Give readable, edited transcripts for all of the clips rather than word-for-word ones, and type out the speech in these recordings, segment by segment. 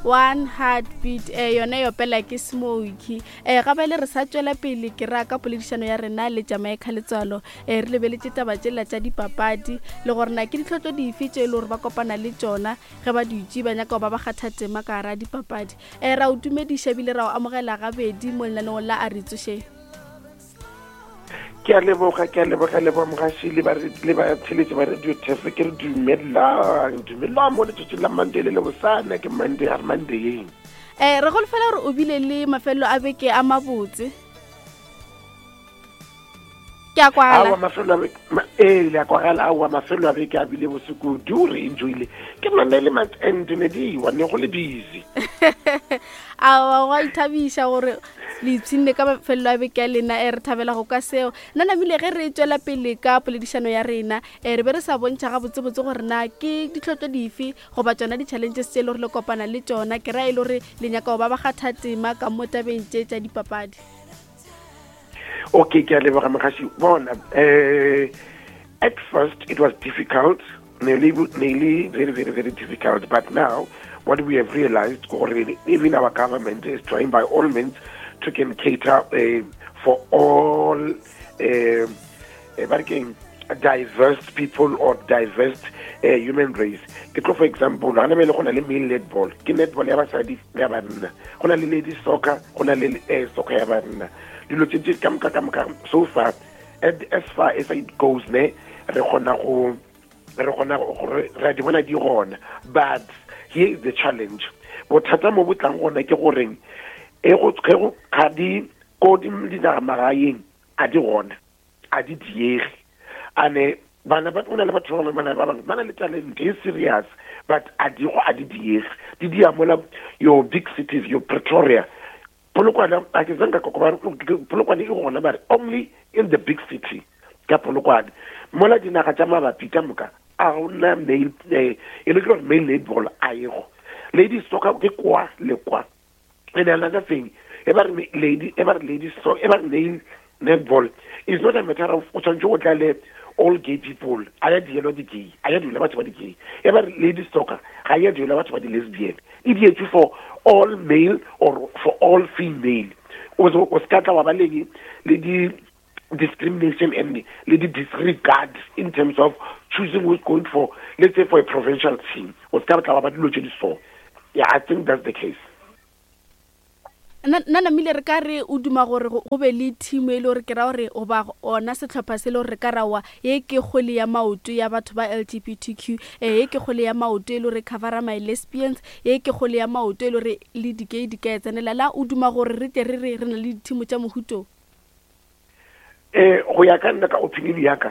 One Heartbeat eh, yona e opela ke Smoky. Eh, ga bjale re sa tšwela pele ke ra ka poledišano ya rena le Jamaica Letswalo. Eh, re lebeletše taba tšela tša dipapadi le gore na ke ditlhotlo dife tše e le gore ba kopana le tšona ge ba dutše ba nyaka go ba ba kgatha tema ka gara dipapadi. Eh, ra o dumediša ebile ra o amogela gabedi mo lenaneong la A Re Tsošeng. Ke a leboga, ke a leboga leboga mogaši le ba le ba tsheletše ba radio tef ke re dumelang dumelang mo letšatšing la Monday le le bosana ke Monday a re Mondayeng. Eh, re golofela gore o bile le mafelelo a beke a mabotse. Ke a kwagala. Aowa mafelo a beke ee le a kwagala aowa mafelo a beke a bile bose kudu re enjoyile ke none le month end ne di wa ne go le busy. Aowa go a ithabiša gore le ipshinne ka mafelelo a beke ya lena e re thabela go ka seo nna namile ge re tswela pele ka poledišano ya rena e re be re sa bontšha gabotsebotse gore na ke ditlhotlo dife goba tsona di-challenges tše e le gore le kopana le tsona ke ra e le gore le nyaka go ba ba kgatha tema ka mo tabeng tše tša dipapadi. Okay, ke a leboga mogaši. Bona, eh, at first it was difficult, nearly, nearly very, very, very difficult. But now, what we have realized, gore even our government is trying by all means to can cater for all ba re keng, diverse people or diverse human race. Ke tlo for example, ga na bele go na le male netball, ke netball ya basadi le ya banna, go na le ladies soccer, go na le soccer ya banna. Dilo tse tse ka moka ka moka so far, and as far as it goes ne, re kgona go re kgona gore re a di bona di gona. But here is the challenge, bothata mo bo tlang gona ke goreng e go ge go ga di ko di dinaga magaeng a di gona, a di diege. Ane bana ba o na le batho ba bangwe ba bangwe ba na le talent e serious, but a di go a di diege, di dia mola your big cities, your Pretoria, Polokwane. A ke zanka ka ba Polokwane e gona, mare only in the big city ka Polokwane. Mola dinaga tša mabapi ka moka a gona male, e le gore male netball a e go, ladies soccer ke kwa le kwa. And another thing, e ba re lady, e ba re ladies so, e ba re male netball is not a matter of o tshwanetse go tla le all gay people, a ya dielwa di-gay, a ya dielwa batho ba di-gay. E ba re ladies soccer ga ya dielwa batho ba di-lesbian, e dietswe for all male or for all female. O se ka tla wa ba leng le di discrimination and le di disregard in terms of choosing who's going for, let's say, for a provincial team. O se ka tla wa ba dilo tse di so. Yeah, I think that's the case. Nna namile re ka re o duma gore go be le team e le gore ke ra gore goba ona sehlopha se le gore re ka ra wa ye ke kgwele ya maoto ya batho ba LGBTQ, eh, ye ke kgwele ya maoto e le gore covera my lesbians, ye ke kgwele ya maoto e le gore le di-gay di ka e tsenela. La o duma gore re tle re re re na le di-team tša mohuto? Eh, go ya ka nna, ka opinion ya ka,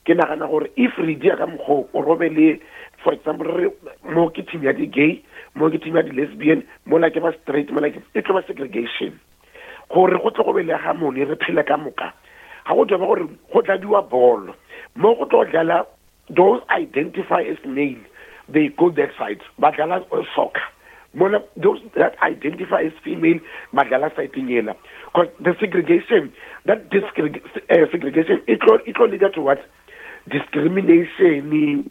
ke nagana gore if re dia ka mokgwa o robe le, for example, re mo ke team ya di-gay, mo ke team ya di-lesbian, mola ke ba straight, mola ke, e tlo ba segregation. Gore go tle go be le harmony, re phele ka moka, ga go tlo ba gore go tladiwa bolo mo go tlo dlala those identify as male, they go that side, ba dlala soccer. Mola those that identify as female ba dlala side yela. Because the segregation, that segregation e tlo, e tlo lead to what? Discrimination.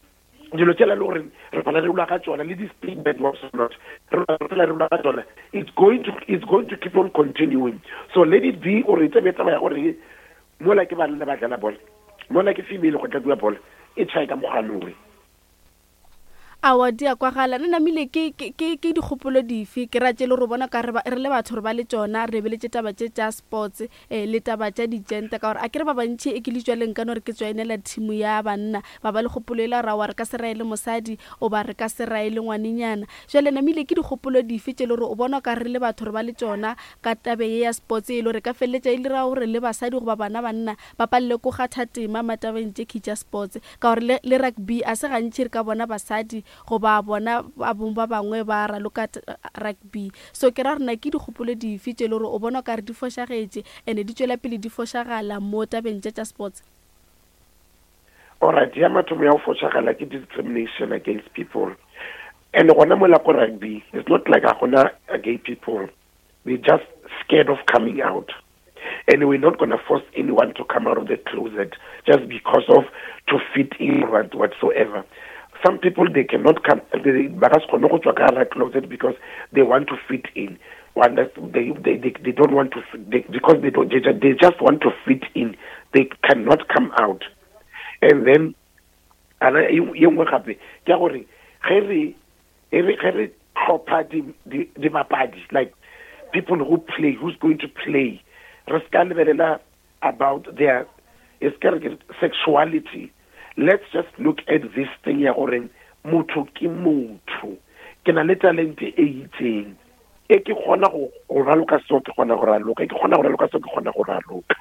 Dilo tšela le gore re phela re lwa ka tšona, le di-statement what not, re phela re lwa ka tšona. It's going to, it's going to keep on continuing. So let it be gore e tsebe taba ya gore mola ke banna ba dlala bolo, mola ke female go tladiwa bolo, e tšhae ka mokgwa. Aowa, di a kwagala. Nna namile ke, ke, ke, ke dikgopolo dife ke ra tše le gore bona ka re, re le batho re ba le tšona, re lebeletše taba tše tša sports eh, le taba tša di-gender, ka gore a ke re ba bantši e ke le tšwaleng ka no re ke joinela team ya banna, ba ba le kgopolo e la gore aowa re ka se rae le mosadi goba re ka se rae le ngwanenyana. Jwale namile ke dikgopolo dife tše le gore o bona ka re le batho re ba le tšona ka tabe ye ya sports e le gore ka feleletša e dira gore le basadi goba bana banna ba palele ko kgatha tema matabeng tše khi tša sports, ka gore le, le rugby a se gantši re ka bona basadi goba bona ba bong ba bangwe ba raloka rugby. So ke ra gore na ke dikgopolo dife tše le gore o bona o ka re di fošagetše and di tšwela pele di fošagala mo tabeng tše tša sports? Alright, ya mathomo ya go fošagala ke discrimination against people. And gona mola ko rugby, it's not like a gona gay people. We're just scared of coming out. And we're not going to force anyone to come out of the closet just because of to fit in or whatsoever. Some people they cannot come they ba ka se kgone go tswa ka gare closet because they want to fit in. One they, they, they, they don't want to they, because they don't they, they just want to fit in. They cannot come out. And then ana ye nngwe gape ke ya gore ge re ge re tlhopha dibapadi like people who play who's going to play re se ka lebelela about their e se re sexuality let's just look at this thing ya gore motho ke motho ke na le talente e itseng e ke kgona go raloka seo ke kgona go raloka e ke kgona go raloka seo ke kgona go raloka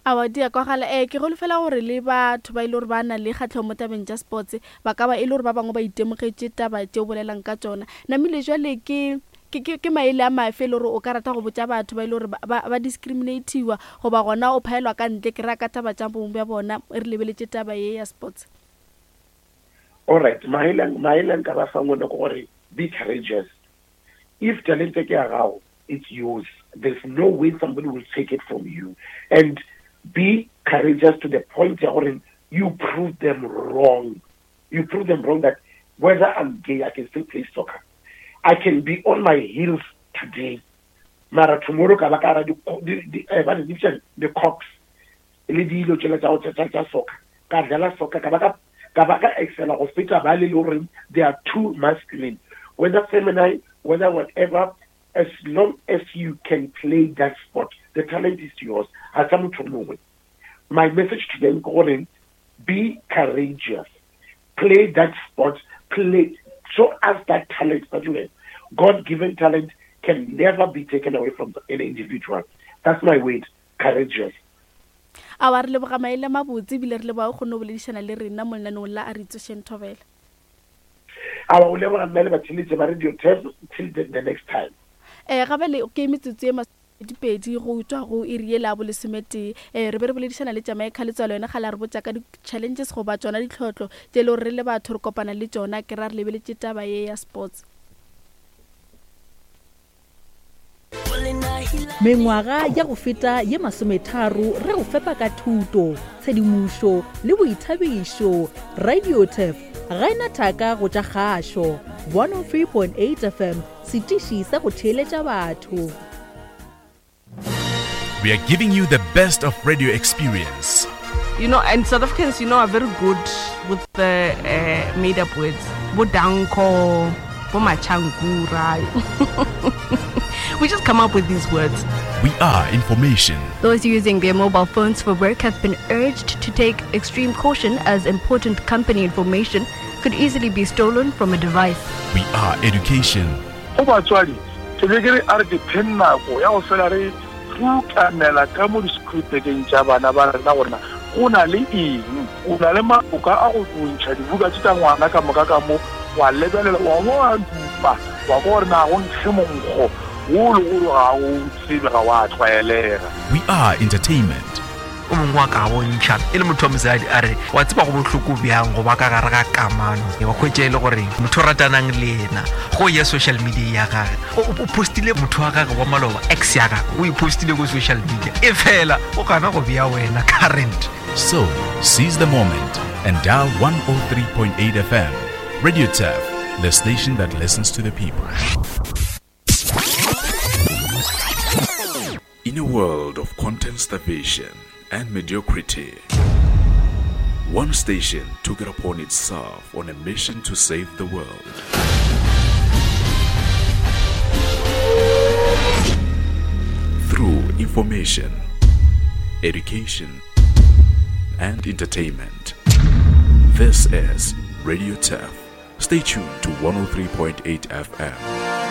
Aowa, di a kwagala. Ee, ke holofela gore le batho ba e le gore ba na le kgahlego mo tabeng tša sports ba ka ba e le gore ba bangwe ba itemogetše taba tše o bolelang ka tšona. Namile jwale ke, ke, ke, ke maele a mafe e le gore o ka rata go botša batho ba e le gore ba, ba, ba discriminatiwa goba gona o phaelwa ka ntle, ke ra ka taba tša bong bja bona re lebeletše taba ye ya sports? Alright, maele, maele a nka ba fang ona ke gore be courageous. If talente ke ya gago, it's yours. There's no way somebody will take it from you. And be courageous to the point ya gore you prove them wrong. You prove them wrong that whether I'm gay, I can still play soccer. I can be on my heels today. Mara tomorrow ka ba ka ra di di eh, ba di bitsa the cocks le dilo tšela tša go tša soccer. Ka dlala soccer ka ba ka ka ba ka excela go feta ba le le gore they are too masculine. Whether feminine, whether whatever, as long as you can play that sport, the talent is yours. Ga sa motho mongwe. My message to them ke gore be courageous. Play that sport, play show us that talent that you have. God given talent can never be taken away from any individual. That's my word, courageous. Aowa, re leboga maele a mabotse ebile re leboga o kgonne go boledišana le rena mo lenaneong la A Re Itsošeng Thobela. Aowa, o leboga nna le batheeletši ba Radio Turf till the, the next time. Eh, ga bjale ke metsotso ye masomepedi go tšwa go iri yela ya bolesometee. Eh, re be re boledišana le Jamaica Letswalo, yena kgale a re botša ka di-challenges goba tšona ditlhotlo tše e le gore re le batho re kopana le tšona, ke ra re lebeletše taba ye ya sports. Mengwaga ya go feta ye masometharo re go fepa ka thuto, tshedimošo le boithabišo. RadioTurf ga e na thaka go tša kgašo. 103.8 FM, setiši sa go theeletša batho. We are giving you the best of radio experience. You know, and South Africans, you know, are very good with the uh, made up words. Bodanko, Bomachankura. we just come up with these words. We are information. Those using their mobile phones for work have been urged to take extreme caution as important company information could easily be stolen from a device. We are education. Go batswadi, ke be ke re a re ke pheng nako ya go fela re rutamela ka mo di-school-bageng tša bana ba rena gore na go na le eng. O na le maloka a go ntšha dibuka tše tša ngwana ka moka ka mo, wa lebelela, wa bo wa dupa, wa kwa gore na go nkge monkgo wo le gore ga o tsebe, ga wa tlwaelega. We are entertainment. O mongwe wa ka bontšha e le motho wa mosadi a re wa tseba go bohloko bjang go ba ka gare ga kamano wa kgwetša e le gore motho o ratanang le yena go ya social media ya gage o postile motho wa gage wa maloba ex ya gage o e postile ko social media e fela o gana go bea wena current. So, seize the moment and dial 103.8 FM. Radio Turf, the station that listens to the people. In a world of content starvation and mediocrity, one station took it upon itself on a mission to save the world. Through information, education, and entertainment. This is Radio Turf. Stay tuned to 103.8 FM.